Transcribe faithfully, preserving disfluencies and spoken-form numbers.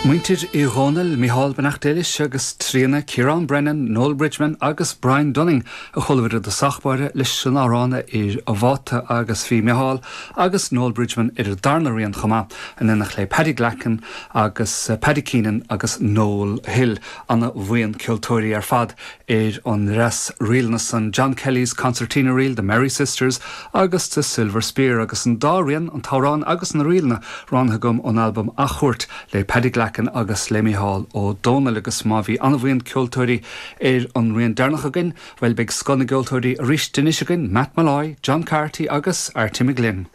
Muintir Uí Dhónaill, Micheál beannacht Dé leis agus Tríona Ciarán Brennan, Noel Bridgman agus Brian Dunning a chualamar i dtosach báire leis an amhrán A Fhir an Bháta agus bhí Micheál agus Noel Bridgman ar an darna rian chomh maith in éineacht le Paddy Glackin agus Paddy Keenan agus Noel Hill ana bhuíon ceoltóirí ar fad ar an dreas ríleanna san John Kelly's Concertina Reel, The Merry Sisters agus The Silver Spear agus an dá rian an t-amhrán agus na ríleanna roghnaithe agam ón albam Athchuairt le Paddy Glackin agus le Micheál Ó Dónaill agus má bhí an-bhuíon ceoltóirí ar an rian deireanach againn, well beidh scoth na gceoltóirí arís anois againn, Matt Molloy, John Carty agus Artie McGlynn.